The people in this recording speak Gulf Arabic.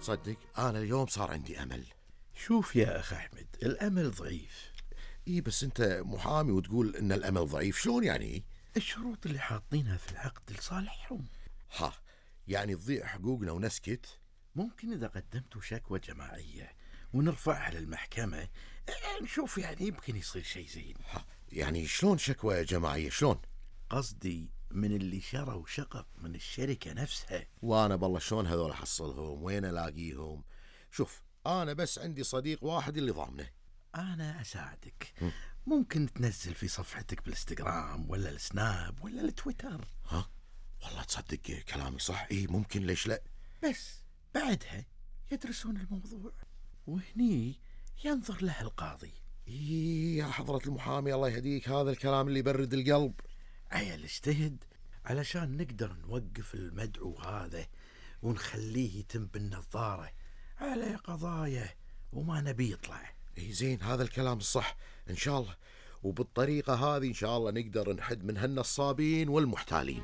تصدق أنا اليوم صار عندي أمل. شوف يا أخ أحمد، الأمل ضعيف. إيه بس أنت محامي وتقول إن الأمل ضعيف، شلون يعني؟ الشروط اللي حاطينها في العقد لصالحهم. ها، يعني تضيع حقوقنا ونسكت؟ ممكن إذا قدمتوا شكوى جماعية ونرفعها للمحكمة نشوف، يعني يمكن يصير شيء زين. ها، يعني شلون شكوى جماعية شلون؟ قصدي من اللي شروا شقق من الشركة نفسها. وأنا بالله شلون هذول أحصلهم؟ وين ألاقيهم؟ شوف أنا بس عندي صديق واحد اللي ضامنه. أنا أساعدك. ممكن تنزل في صفحتك بالإنستغرام ولا السناب ولا التويتر. ها والله تصدق كلامي صح. إيه ممكن، ليش لا؟ بس بعدها يدرسون الموضوع وهني ينظر له القاضي. إيه يا حضرة المحامي الله يهديك، هذا الكلام اللي يبرد القلب. عيل اجتهد علشان نقدر نوقف المدعو هذا ونخليه يتم بالنظارة على قضايا وما نبي يطلع. إيه زين، هذا الكلام الصح إن شاء الله، وبالطريقة هذه إن شاء الله نقدر نحد من هالنصابين والمحتالين.